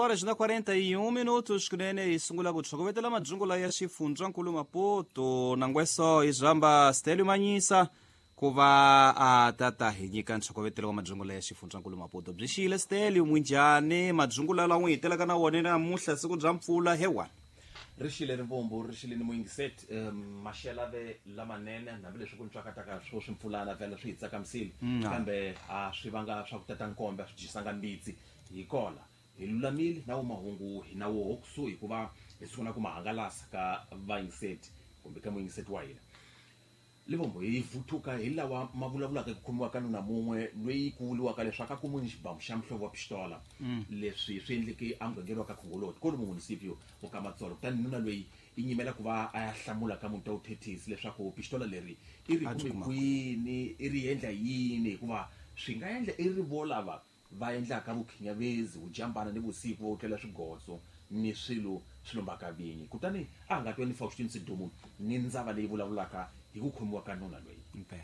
Horas na 41 minutos kunene hi sungula ku tlhokovetela madzungula ya xifundzankulu Maputo nangweso hi zamba Stelio Manyisa ku va a tata hi nyika ntlhokovetelo wa madzungula ya xifundzankulu Maputo. Byi xiyile Stelio, mwinjhani madzungula lawa n'wi hitelaka na wona namuntlha siku bya mpfula hewa? Ri xile rivombo, ri xile ni muyingiseti. Maxela ve lamanene hambileswi ku ntswakataka swo swimpfulana vhela swi hi tsakamisile, kambe a swi vanga swa ku tata nkombe, a swi dyisanga mbitsi. Hi kola hi lulamile na wo mahungu hi na woho kusuhi hikuva hi sungula ku ma hangalasa ka vayingiseti kumbe ka muyingiseti wa hina. Livombo hi vuthuka hi lawa ma vulavulaka hi ku khomiwa ka nuna mun'we loyi ku vuriwaka leswaku a kumiwe ni xibamu xa muhlovo wa pistola. Leswi swi endleke emugangeni wa ka Khongoloti kwalomu municipio wa ka Matsolo. Kutani nuna loyi i nyimela ku va a ya hlamula ka muti wa vuthethisi leswaku pistola leri i ri kume kwini, i ri endla yini, hikuva swi nga endla i ri vo lava va endlaka vukhinyavezi, vujambana ni vusiku, va wutlela swigotso ni swilo swi lombaka vinyi. Kutani a nga twa ni Faustin Sidumo ni ndzava leyi vulavulaka hi ku khomiwa ka nuna loyi. Impela.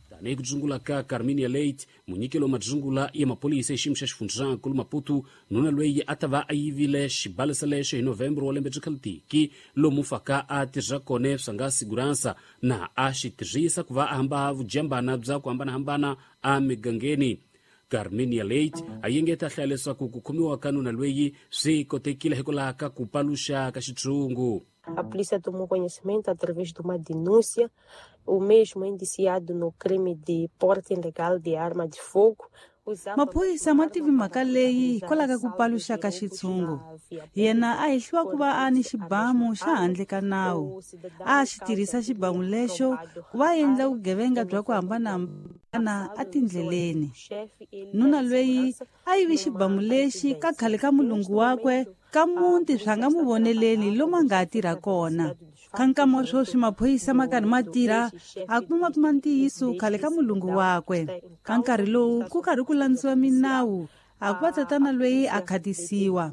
Tanihi ku dzungula ka Carminia Late, munyikelo wa madzungula ya maphorisa hi xiyimo xa xifundzankulu Maputo, nuna loyi a ta va a yivile xibalesa lexo hi November wa lembe bya khalitiki, lomu faka a tirha kona swa nga siguransa na a xi tirhisa ku va a hamba vujambana bya ku hambanahambana emigangeni. Carminia Late a yengeta hlaya leswaku ku khomiwa ka nuna loyi swi kotekile hikwalaho ka ku paluxa ka xitshungu. A polícia tomou conhecimento através de uma denúncia, o mesmo indiciado no crime de porte ilegal de arma de fogo. Maphorisa ma tivi mhaka leyi hikwalaho ka ku paluxa ka xitshungu. Yena a hehliwa ku va a ni xibamu xa handle ka nawu. A xi tirhisa xibamu lexo ku va endla vugevenga bya ku hambanahambana etindleleni. Nuna loyi a yivi xibamu lexi ka khale ka mulungu wakwe ka muti swa nga mu voneleni lomu a nga ha tirha kona. Ka nkama wa sweswi maphorisa ma karhi ma tirha a kuma kuma ntiyiso khale ka mulungu wakwe. Ka nkarhi lowu ku karhi ku landziwa minawu a ku va tatana loyi a khatisiwa.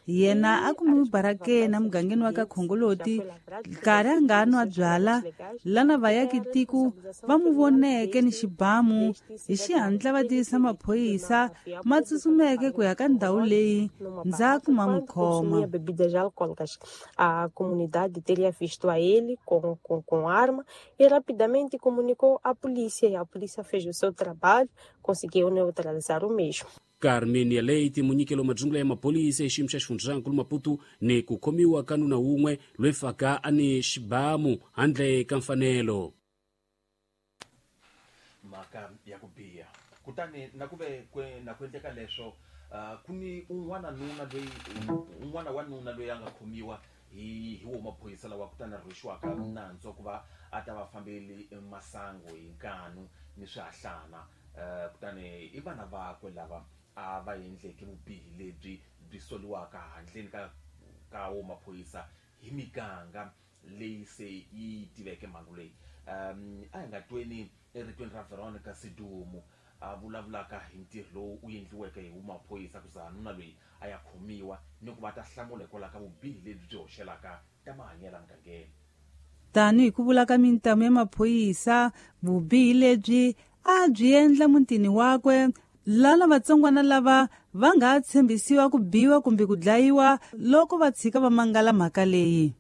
Yena a kumiwe barakeni emugangeni wa ka Khongoloti nkarhi a nga nwa byala lana vayaki tiko va mu voneke ni xibamu hi xihatla va tivisa maphorisa ma tsutsumeke ku ya ka ndhawu leyi ndzhaku ma n'wi khoma. Bebidas alcoólicas. A comunidade teria visto a ele com arma e rapidamente comunicou à polícia, e a polícia fez o seu trabalho, conseguiu neutralizar o mesmo. Carmenia Leite, munyikelo wa madzungula ya maphorisa hi xiyimo xa xifundzankulu Maputo ni ku khomiwa ka nuna wun'we loyi faka a ni xibamu handle ka mfanelo. Mhaka ya ku biha. Kutani na ku ve na ku endleka leswo, ku ni un'wana nuna loyi un'wana wa nuna loyi a nga khomiwa hi wo maphorisa lawa kutani a rhwexiwaka nandzu wa ku va a ta va fambeli masangu hi nkanu ni swihahlana. Kutani i vana vakwe lava a va endleke vubihi lebyi byi soliwaka handleni ka wo maphorisa hi miganga leyi se yi tiveke mhangu leyi. A hi nga tweni eritweni ra Veronica Sidumo a vulavulaka hi ntirho lowu wu endliweke hi maphorisa ku za nuna loyi a ya khomiwa ni ku va ta hlamula hikwalaho ka vubihi lebyi byi hoxelaka ta mahanyelo emugangeni. Tanihi ku vula ka mintamu ya maphorisa, vubihi lebyi a byi endla mutini wakwe lana vatsongwana lava va nga tshembisiwa ku biwa kumbe ku dlayiwa loko va tshika va mangala mhaka leyi.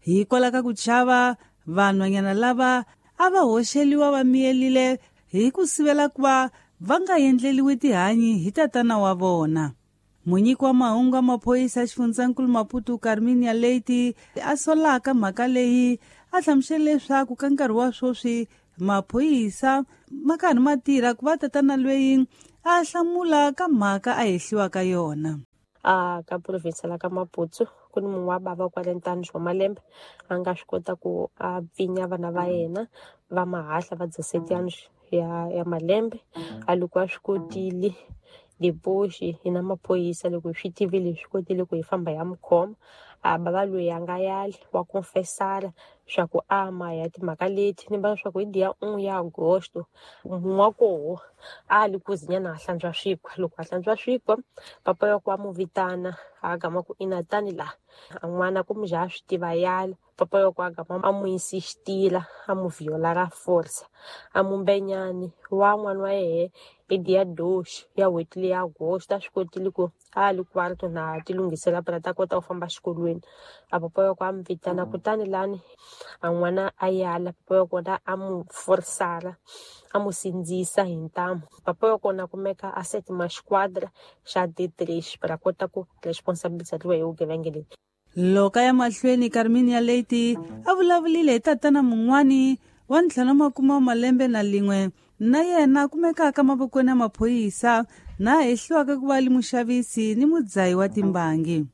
Hikwalaho ka ku chava, vanhwanyana lava a va hoxeliwa va miyelile hi ku sivela ku va va nga endleliwi tihanyi hi tatana wa vona. Munyiki wa mahungu wa maphorisa xifundzankulu Maputo Carminia Leite a solaka mhaka leyi a hlamusela leswaku ka nkarhi wa sweswi maphorisa ma karhi ma tirha ku va tatana loyi a hlamula ka mhaka a hehliwa ka yona. Ka province la ka Maputo ku ni munhu wa bava 40 anos wa malembe a nga swi kota ku a pfinya vana va yena va mahahla va 17 anos ya malembe. A loko a swi kotile depois hi na maphorisa loko hi swi tivile hi swi kotile ku hi famba hi ya n'wi khoma. A bava loyi a nga yali wa confessala swa ku ama ya timhaka leti ni vona swa ku hi dia 1 ya Agosto mun'wa koho a li kuzinyana a hlantswa swikwa. Loko a hlantswa swikwa papa ya ku a mu vitana a gama ku ina tani la a n'wana ku mujaha swi tiva yala papa ya ku a gama a mu insistila a mu viola ra force a mumbenyani wa n'wana wa yehe hi dia 2 ya n'hweti leya Agosto a swi kotile ku a li kwarto na ti lunghisela phela ta kota ku famba xikolweni. A papa ya ku a mu vitana kutani lani a n'wana a yala papa ya kona a mu forsala a mu sindzisa hi ntamu. Papa ya kona kumeka a setima xiquadra xa D3 para kota ku responsabilizariwa hi vugevenga leyi. Loko ya mahlweni Carminia Leite a vulavulile hi tatana mun'wani wa 51 malembe na lin'we na yena kumekaka mavokweni ya maphorisa na hehliwaka ku va li muxavisi ni mudzahi wa timbangi.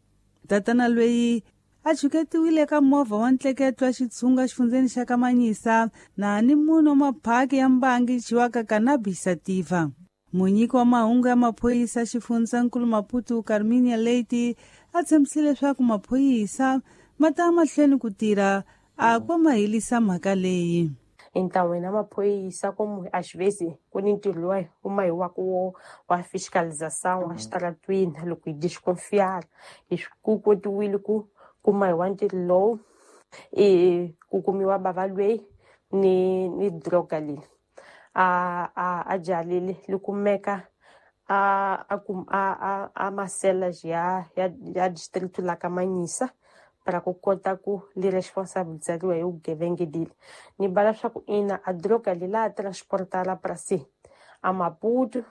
Tatana loyi a chuketiwile ka movha wa ntleketo wa xitshunga xifundzeni xa Kamanyisa na ni munhu wa maphaki ya mbangi dyiwaka cannabis sativa. Munyiki wa mahungu ya maphorisa xifundzankulu Maputo Carminia Leite a tshembisile leswaku maphorisa ma ta mahlweni ku tirha a kwa ma helisa mhaka leyi. Entlaweni ya maphorisa komu às vezes ku ni ntirho luwa wu mahiwaka wo wa fiscalização a xitaratwini loko hi desconfiar hi ku kotiwile ku kuma hi wa ntirho lowu i ku kumiwa bava lweyi ni droga leyi a jalile li kumeka a masela ya distrito la Kamanyisa para ku kota ku li responsabilizariwa hi vugevenga leli. Ni bala swa ku ina a droga leyi la transportala para si a Maputo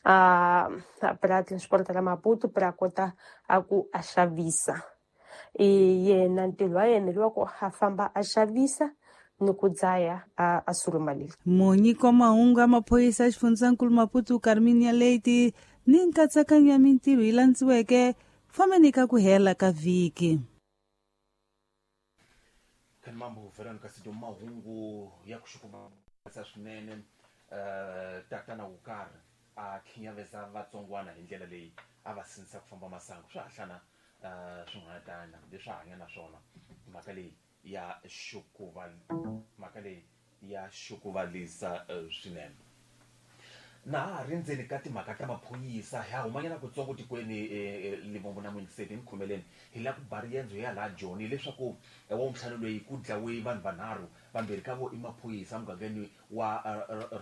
a para transportala Maputo para kota a ku a xavisa. I yena ntirho wa yena lowa ku a famba a xavisa ni ku dzaya a suruma leli. Munyiki wa mahungu ya maphorisa xifundzankulu Maputo Carminia Leite ni nkatsakanyo ya mintirho yi landziweke fambeni ka ku hela ka vhiki. Mambo Veronica Sido mahungu ya ku xukumatsa swinene tatana wo karhi a khinyaveza vatsongwana hi ndlela leyi a va sindzisa ku famba masangu swa hahlana swin'wana tana leswi hanya na swona mhaka leyi ya xukuva mhaka leyi ya xukuvalisa swinene. Na ha ri ndzeni ka timhaka ta maphorisa ha humanyana kutsongo tikweni Limpopo na Mwingiseti ni khomeleni hi la ku ba riendzo ya laha Joni leswaku wa ntlhanu loyi ku dlawe vanhu vanharhu vambirhi ka vo i maphorisa mugangeni wa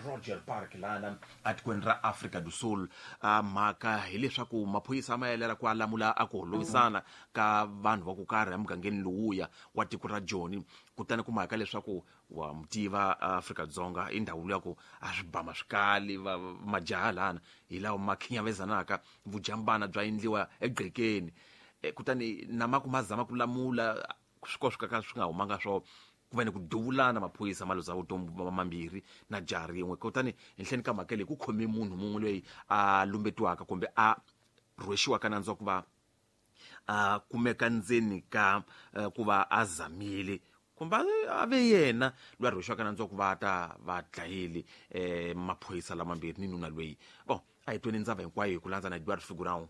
Roger Park lana atikweni ra Afrika do Sul. Mhaka hileswaku maphorisa ma yelela ku alamula a ku holovisana ka vanhu va ku karhi emugangeni lowuya wa tiko ra Joni kutani ku mhaka leswaku wa mutiva Afrika Dzonga i ndhawu ya ku a swi bama swikali majaha lana hi lawa ma khinyavezanaka vujambana bya endliwa egqekeni kutani na ma ku ma zama ku lamula swi ko swi ka swi nga humanga swo ku va ni ku duvulana maphorisa ma luza vutomi mambirhi na jaha rin'we. Kutani henhleni ka mhaka leyi ku khome munhu mun'we loyi a lumbetiwaka kumbe a rhwexiwaka nandzu wa ku va a kumeka ndzeni ka ku va a zamile kumbe a ve yena loyi a rhwexiwaka nandzu wa ku va ta va dlayile maphorisa lamambirhi ni nuna loyi. Bon a hi tweni ndzava hinkwayo hi ku landza na Edward Figurão.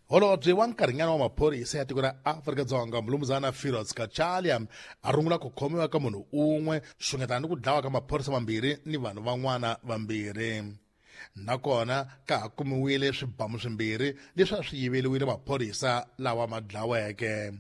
Holobye wa nkarhinyana wa maphorisa ya tiko ra Afrika-Dzonga Mulumuzana Firoz Kachalia a rungula ku khomiwa ka munhu un'we xungetana ni ku dlawa ka maphorisa mambirhi ni vanhu van'wana vambirhi. Nakona ka ha kumiwile swibamu swimbirhi leswi a swi yiveriwile maphorisa lawa ma dlaweke.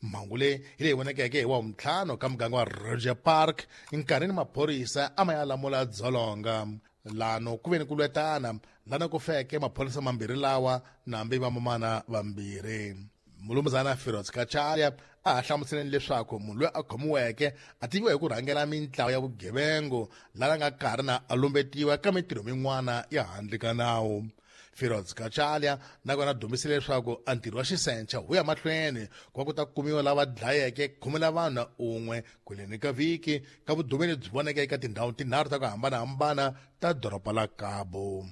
Mhangu leyi hi leyi vonakeke hi wa 5 ka muganga wa Roger Park nkarhini maphorisa a ma ya lamula dzolonga. Lano ku ve ni ku lwetana lana ku feke maphorisa mambirhi lawa nambi vamamana vambirhi. Mulumuzana Firoz Kachalia a ha hlamuseleni leswaku munhu loyi a khomiweke a tiviwa hi ku rhangela mintlawa ya vugevengu lana nga karhi na a lumbetiwa ka mintirho min'wana ya handle ka nawu. Firoz Kachalia nakona dumisile leswaku a ntirho wa xisencha wu ya mahlweni ku va ku ta kumiwa lava dlayeke 10 vanhu un'we kweleni ka vhiki ka vudumeli byi voneke eka tindhawu tinharhu ta ku hambanahambana ta doroba la Cabo.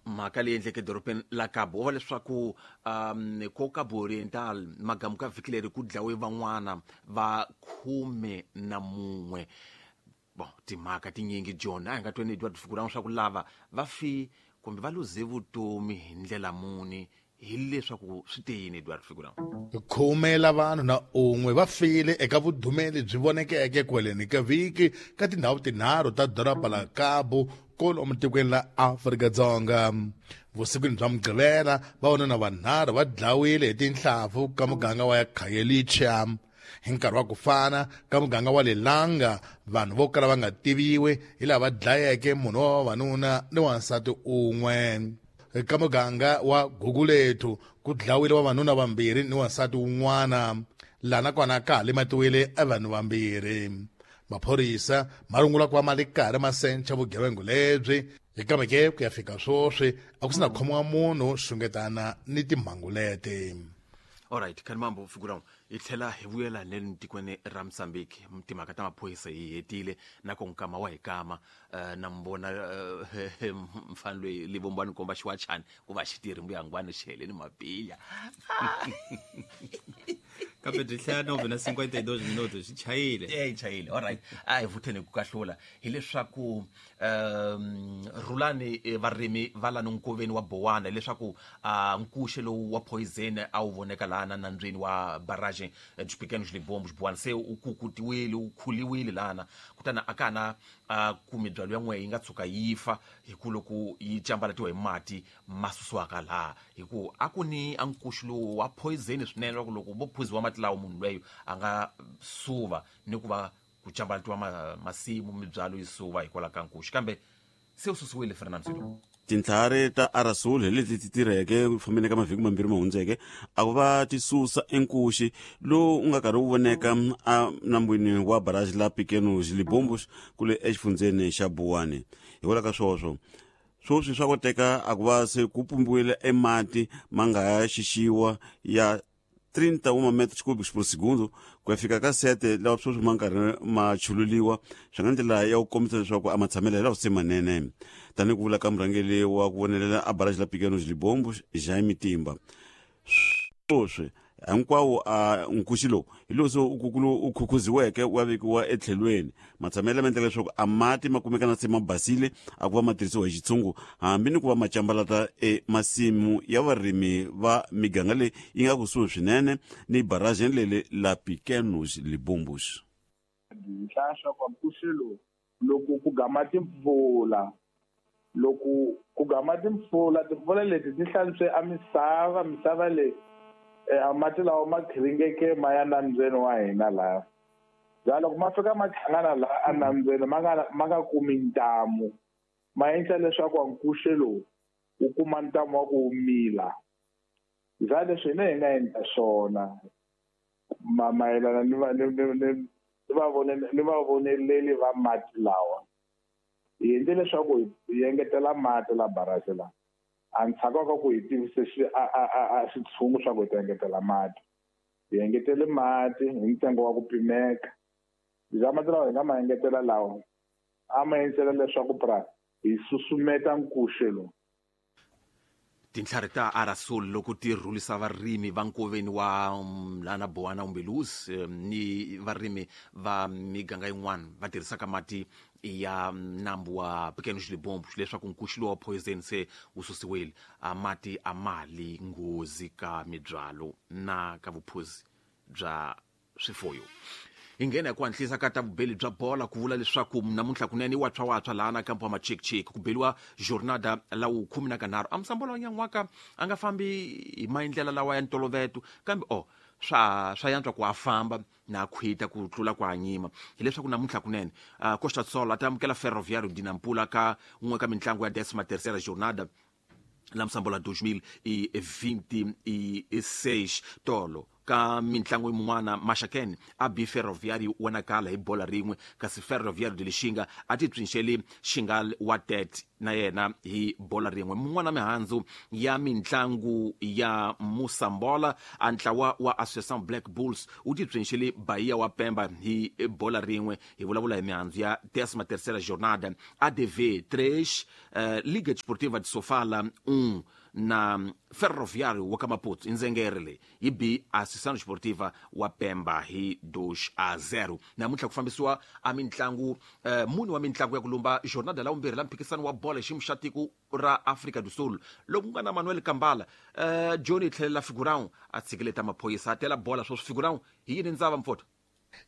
Mhaka leyi endleke edorobeni la Cabo wa leswaku ko Cabo Oriental magamu ka vhiki leri ku dlawe van'wana va 11. Bon timhaka tinyingi John a hi nga tweni Edward Figurão swa ku lava va fi Kumbe va luze vutomi hi ndlela muni, hileswaku swi te yini Edward Figura? 10 la vanhu na 1 va file eka vudumeli byi vonekeke kweleni ka vhiki ka tindhawu tinharhu ta doroba la Cabo kolomu tikweni la Afrika-Dzonga. Vusikwini bya Mugqivela vavanuna vanharhu va dlawile hi tinhlampfu ka muganga wa Khayelitsha. Hi nkarhi wa ku fana ka muganga wa Lelanga, vanhu vo kala va nga tiviwi hi lava dlayeke munhu wa vavanuna ni wansati un'we. Ka muganga wa Gugulethu ku dlawile vavanuna vambirhi ni wansati wun'wana, laha nakona ka ha lematiwile vanhu vambirhi. Maphorisa ma rungula ku va ma le karhi ma sencha vugevenga lebyi, kambe ke ku ya fika sweswi a ku sina khomiwa munhu xungetana ni timhangu leti. Alright, Khanimambo Figura, hi tlhela hi vuyela le tikweni ra Mozambique. Timhaka ta maphorisa hi hetile na ku nkama wa hi kama na mbona mfana loyi livombani komba xiwachani ku va xi tirhi mbuyangwani xi heleni mapilya. Kambe byi hlaya 9:52 minutos xi chayile. E chayile. Alright, a hi vutheni ku kahlula hileswaku Rhulani varimi va lani nkoveni wa Bowana leswaku nkuxe lowu wa poison a wu voneka lana nambyeni wa barrage dos Pequenos Libombos Bowana se u kukutiwile, u khuliwile lana, kutani a ka na ku mibyalo ya n'we yi nga tshuka yi fa hi ku loko yi cambalatiwa hi mati ma susiwaka laha, hi ku a ku ni a nkuxu lowu wa poison swinene loko loko vo phuziwa mati lawa munhu lweyo a nga suva ni ku va ku cambalatiwa masimu mibyalo yi suva hikwalaho ka nkuxu, kambe se u susiwile Fernando Sido. Tintlhari ta Arasul hi leti ti tirheke ku fambeni ka mavhiki mambirhi ma hundzeke a ku va ti susa enkuxi lowu u nga karhi wu voneka enambwini wa barrage la Pequenos Libombos kule exifundzeni xa Buwani. Hikwalaho ka swoswo swoswi swa koteka a ku va se ku pumbiwile emati ma nga ya xixiwa ya 31 metros cúbicos por segundo ku ya fika ka 7 lawa sweswi ma nkarhi ma chululiwa, swi nga ndlela ya ku kombisa leswaku a matshamelo hi lawa se manene. Tanihi ku vula ka murhangeri wa ku vonelela a barrage la Pequenos Libombos Jaime Timba, sweswi hinkwawo a nkuxi lowu hi lowu se u khukhuziweke wa vekiwa etlhelweni. Matshamelo ma endla leswaku a mati ma kumeka na se ma basile a ku va ma tirhisiwa hi xitshungu, hambi ni ku va ma cambalata emasimu ya varimi va miganga leyi yi nga kusuhi swinene ni barrage leli la Pequenos Libombos. Hlaya swa ku nkuxi lowu loko ku gama timpfula, loko ku gama timpfula, timpfula leti ti hlantswe a misava, misava leyi a mati lawa ma khiringeke ma ya nambyeni wa hina laha. Bya loko ma fika ma hlangana laha a nambyeni ma nga kumi ntamu, ma endla leswaku nkuxe lowu wu kuma ntamu wa ku mila. Bya leswi hina hi nga endla swona mayelana ni vavoneleli va mati lawa, hi endle leswaku hi engetela mati la barrage la. A ndzhaku ka ku hi tivise xitshungu swa ku hi ta engetela mati, hi engetele mati hi ntsengo wa ku pimeka. Bya mati lawa hi nga ma engetela lawa a ma endlela leswaku pra hi susumeta nkuxe lowu. Tintlhari ta Arasul loko ti rhulisa varimi va nkoveni wa lana Bowana Umbeluzi ni varimi va miganga yin'wana va tirhisaka mati ya nambu wa Pequenos Libombos leswaku nkuxu lowu wa poison se wu susiwile, a mati a mali nghozi ka mibyalo na ka vuphuzi bya swifuyo. Hi nghena hi ku hatlisa ka ta vubeli bya bola ku vula leswaku namuntlha kunene i watshwa laha na kampo wa machikchik ku beliwa jornada la wu 13. A musambola wa nyan'waka a nga fambi hi maendlela lawa ya ntoloveto, kambe swa yantswa ku a famba na khwita ku tlula ku hanyima. Hileswaku namuntlha kunene Costa Sol a ta amukela Ferroviário de Nampula ka un'we ka mintlangu ya 13ª jornada la musambola 2026 tolo. Ka mintlangu yin'wana Maxakeni a bi Ferroviário wa Nacala hi bola rin'we, kasi Ferroviário de Lixinga a ti psinxeli Xingal wa Tete na yena hi bola rin'we. Mun'wana mihandzu ya mintlangu ya Musambola, a ntlawa wa Associação Black Bulls wu ti psinxeli Bahia wa Pemba hi bola rin'we. Hi vulavula hi mihandzu ya 13ª jornada. ADV 3, Liga Desportiva de Sofala 1. Na Ferroviário wa ka Maputo indzengere leyi yi bi Associação Esportiva wa Pemba hi 2-0. Namuntlha ku fambisiwa a mintlangu mune wa mintlangu ya ku lumba jornada la vumbirhi la mphikisano wa bolo hi xiyimo xa tiko ra Afrika do Sul, loko ku nga na Manuel Kambala. Johnny tlhelela Figurão a tshikileta maphorisa a tela bola sweswi. Figurão hi yini ndzava mfota?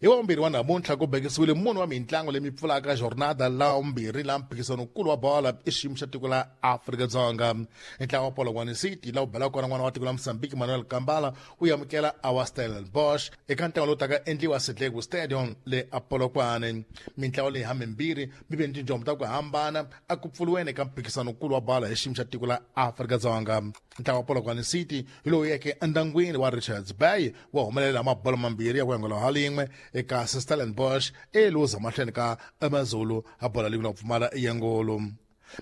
Hi wavumbirhi wa namuntlha ku bekisiwile munhu wa mintlangu leyi mi pfulaka jornada la vumbirhi la mphikisano-nkulu wa bola i xiyimo xa tiko la Afrika-Dzonga. Ntlangu wa Polokwane City laha wu belaka kona n'wana wa tiko la Mozambique Manuel Kambala u amukela awa Stellenbosch eka ntlangu lowu taka endliwa Sidlegu Stadium le a Polokwane. Mintlangu leyi hamimbirhi mi ve ni tinjombo ta ku hambana a ku pfuriweni eka mphikisano-nkulu wa bola hi xiyimo xa tiko la Afrika-Dzonga. Ntlangu wa Polokwane City hi lowu yeke endyangwini wa Richards Bay wa humelela mabolo mambirhi ya ku yangola ha lin'we eka Stellenbosch eluza mahlweni ka AmaZulu a bola leyi nga pfumala yengolo.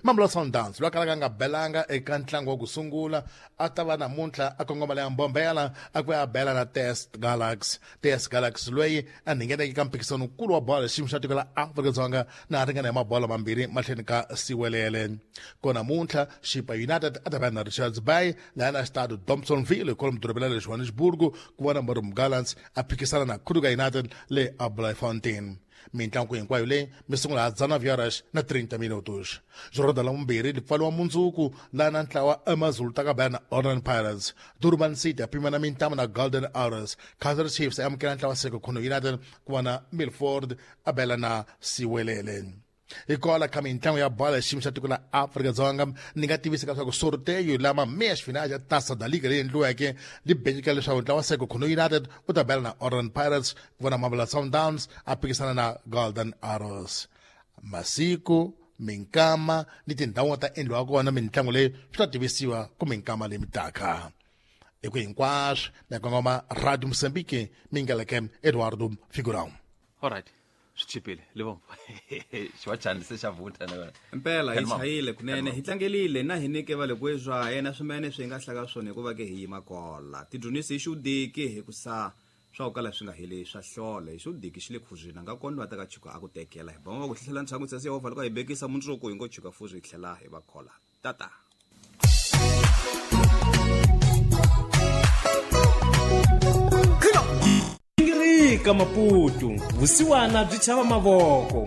Mamelodi Sundowns loyi a kalaka a nga belanga eka ntlangu wa ku sungula a ta va namuntlha a kongoma leya Mbombela a ku ya bela na Test Galaxy. Test Galaxy loyi a ngheneke ka mphikisano-nkulu wa bolo xiyimo xa tiko la Afrika-Dzonga na a ringana hi mabolo mambirhi mahlweni ka Siwelele. Ko namuntlha Chippa United a ta va na Richards Bay laha na xitado Thompsonville kwalomu dorobeni ra le Johannesburg ku vona Marumo Gallants a phikisana na Kruger United le a Bloemfontein. Mintlangu hinkwayo leyi mi sungula ha 19 horas na 30 minutos. Jornada la vumbirhi li pfaliwa mundzuku laha na ntlawa AmaZulu ta ka bela na Orlando Pirates. Durban City a pimana mintamu na Golden Arrows. Kaizer Chiefs a amukela ntlawa Sekhukhune United ku va na Milford a bela na Siwelele. Hikwalaho ka mintlangu ya bola xiyimo xa tiko la Afrika-Dzonga ni nga tivisa leswaku sorteio lama meia finais ya Taça da Liga leyi endliweke li bekeka leswaku ntlawa wa Sekhukhune United wu ta bela na Orlando Pirates ku vona Mamelodi Sundowns a phikisana na Golden Arrows. Masiku minkama ni tindhawu ta endliwa kona mintlangu leyi swi ta tivisiwa ku minkama leyi mitaka. Hi ku hinkwaswo na kongoma Radio Mozambique mingaleke Eduardo Figurão. Alright, swi chipile livombo xiwachani se xa vutha na yona. Mpela hi chayile kunene, hi tlangelile na hi nyike va le kwezwa yena swimene swi nga hlaka swona hikuva ke hi yima kola tidyondzisi hi xudiki hi ku sa swa ku kala swi nga heli swa hlola hi xudiki xi le khuzwini a nga kona va ta ka chuka a ku tekela hi bama va ku hlohlela ntshangu tsasi Yehovha loko a hi bekisa mundzuku hi ngo chuka fuzi hi tlhela hi va khola tata. Ngirika Maputo, vusiwana byi chava mavoko.